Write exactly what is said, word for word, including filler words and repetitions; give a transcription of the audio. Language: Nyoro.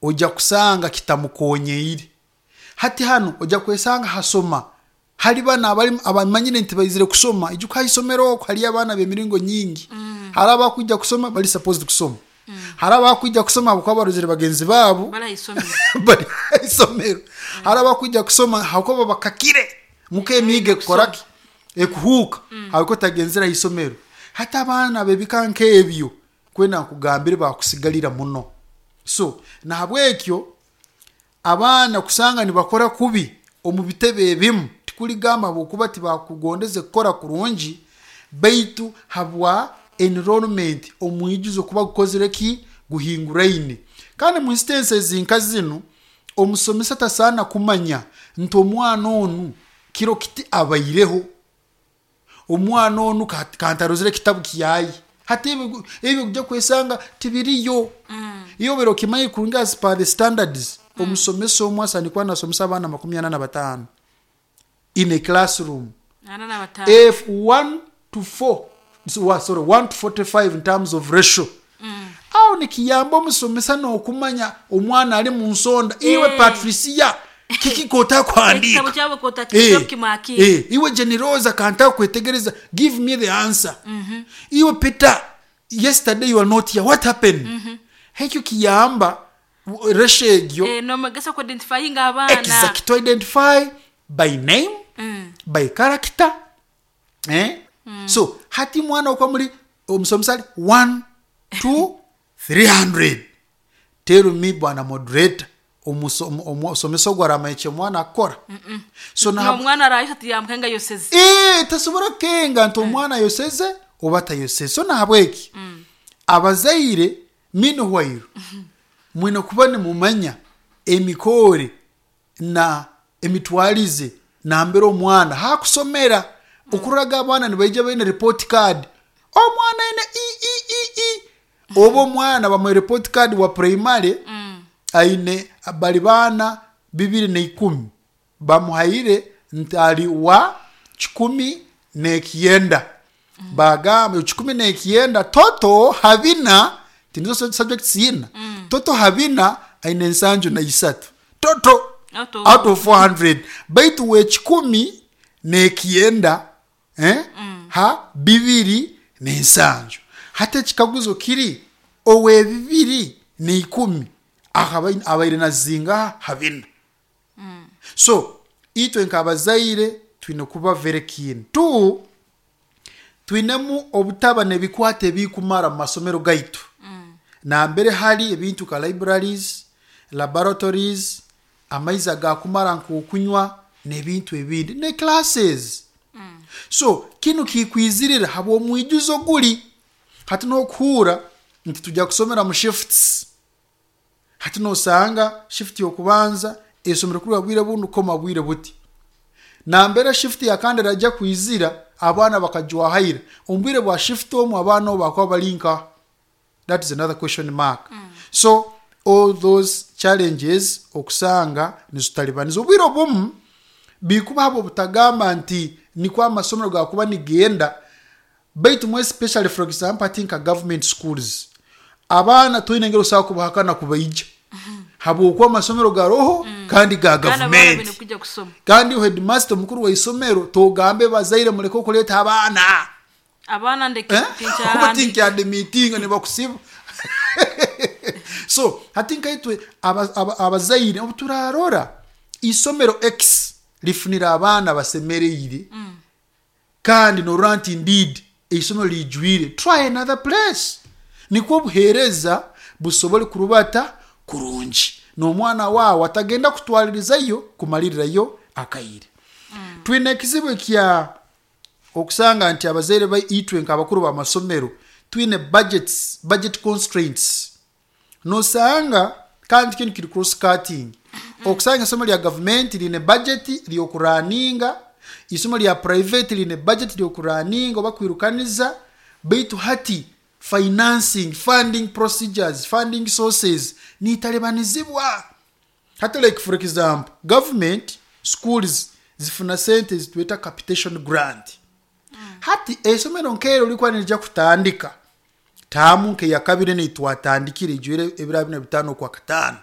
Ojja kusanga kitamukonyeire. Hati hanu ojja kwesanga hasoma hali bana abali abamanyire nti baizire kusoma. Ijuka, ha isomero okwo haliyo abaana b'emiringo nyingi. Hari abakwija kusoma bali supposed kusoma, hari abakwija kusoma habwokuba barozere bagenzi baabo bari ahisomero, bari ha isomero, hari abakwija kusoma habwokuba bakakire muka emiiga ekukoraki, ekuhuuka, habwokuba tagenzere ha isomero. Hati abaana b'ebika nk'ebyo, kwenda nkugambire, bakusigalira muno. So nahabwekyo abaana kusanga nibakora kubi omu bitebe ebimu, tikuligamba habwokuba tibakugondeze kukora kurungi, baitu habwa enrollment, omwijuzo kuba gukozire ki, guhinguraine. Kandi mu instances nka zinu, omusomesa tasaana kumanya nti omwana onu kiro kiti abaireho, omwana onu kantarozire ekitabu kyaye. Hati ebyo ebyo ojja kwesanga tibiriyo. Iyo obaire okimanyire kurungi, as per the standards, omusomesa omu asaana kuba nasomesa abaana makumi ana na bataano in a classroom. Ana na bataano. If one to four, so, sorry, one to forty-five in terms of ratio, aho nikiyamba omusomesa n'okumanya omwana ali mu nsonda. Iwe Eh. Patricia, kiki kotakuhandiika? Ekitabo kyabo kota Eh, kimakire. eh, iwe Generosa, kanta kwetegereza, give me the answer. Iwe Peter, yesterday you are not here, what happened? Ekyo kiyamba ratio egyo. Eh, nomugesa ku identifying abaana. Exact, to identify by name, Mm. by character, eh? So hati mwana okwa muri omusomesa ali one two three hundred, tell me, bwana moderator, omuso- omu- omusomesa ogwo aramanya omwana akora? So na Nomwana arayisha tiyamkenga yoseze. Eh, tasobora kukenga nti omwana ayoseze oba tayoseze. So nahabweki abazaire, meanwhile, mwine kuba nimumanya emikore na emitwarize nambere omwana hakusomera. Okuraga abaana nibaija baine report card, omwana aine e e e e, oba omwana bamuha report card wa primary aine bali baana bibiri na ikumi, bamuhaire nti ali wa kikumi nekyenda, bagamba kikumi nekyenda toto habina, tinizo subjects ina, toto habina aine ensanju na isatu toto Out of- out of four hundred, baitu we kikumi nekyenda, eh? Ha bibiri nensanju. Hati ekikaguzo kiri, owe bibiri neikumi akaba- abaire nazinga habina? So itwe nk'abazaire twine kuba very keen. Two, twinemu obutaba n'ebikwata ebikumara mu masomero gaitu, nambere hari ebintu nka libraries, laboratories, amaizi agakumara nk'okunywa n'ebintu ebindi ne classes. So kinu kikwizirira habw'omwijuzo guli. Hati n'okuhuura nti tujja kusomera mu shifts, hati nosanga shift y'okubanza esomero kuruga bwire bunu koma bwire buti, nambere shift yakandi erajja kwizira abaana bakajwahaira omu bwire bwa shift omu, abaana obu bakuba bali nka? That is another question mark. So all those challenges okusanga nizitalibaniza. Obwire obumu bikuba habo butagamba nti nikwo amasomero gakuba nigenda, baitu mu especially, for example, ati nka government schools, abaana toine engeri osobola kubahakana kubaija, habwokuba amasomero garoho kandi ga Kandi abaana bine gavumenti. kujja kusoma. Kandi headmaster, omukuru wa isomero, togambe bazaire muleke okuleeta abaana. Abaana ndeke. Eh? Oba Tinkyahandi. Tinkyademitinga nibakusiba. So hati nkaitwe aba- aba- abazaire, obu turarora isomero x lifunira abaana basemereire, kandi norora nti indeed isomero lijwire, try another place, nikwo obuheereza busobole kurubata kurungi n'omwana waawe atagenda kutwalirizayo kumalirirayo akaire. Twine ekizibu ekya okusanga nti abazaire baitwe nk'abakuru b'amasomero twine budgets, budget constraints. Nosanga kandi kinu kiri cross cutting, okusanga isomero lya gavumenti line budget lyokuraninga, isomo lya private line budget lyokuraninga oba kwirukaniza, baitu hati financing, funding procedures, funding sources nitalebanizibwa. Hati like, for example, government schools zifuna sente zitweta capitation grant. Hati esomero nkero likuba nirija kutandika taamu nkeyakabiri neitwatandikire ijwire ebiro abiri na bitaano okwa kataano.